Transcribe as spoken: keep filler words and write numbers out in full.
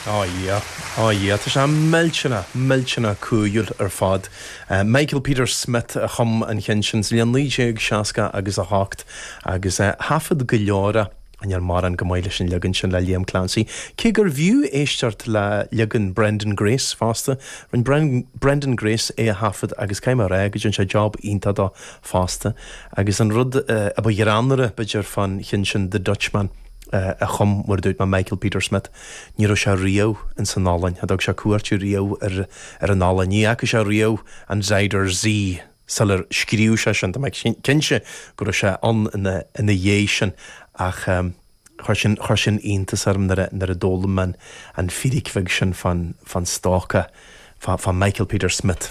Oh yeah, oh yeah, Tá sé millteanach millteanach cool ar fad. Uh, Michael Peter Smith a chum an ceann sin sa bhliain naoi déag seasca agus a hocht agus uh, thaifead go leor an ar mar an go maith leis an leagan sin le Liam Clancy. Cé gur bhfiú éisteacht le leagan Brendan Grace fosta, Rinne Bren Brendan Grace é a thaifead agus cé mar rá go dtí sé job iontach dó fosta, agus an rud uh, a ba ghreannmhaire b'fhéidir fán cheann sin The Dutchman. Uh, a chum mar dúirt mé Michael Peter Smith, ní raibh sé riamh in san Ollainn, a dtug sé cuairt riamh ar ar an Ollainn, ní fhaca sé riamh an Zuider Zee sular scríobh sé sin, Tá mé cinnte go raibh sé ann ina ina dhiaidh sin ach um, chuir sin chuir sin iontas orm nuair a d'fhoghlaim an an fíric bheag sin fan fan stóca fa, fa Michael Peter Smith.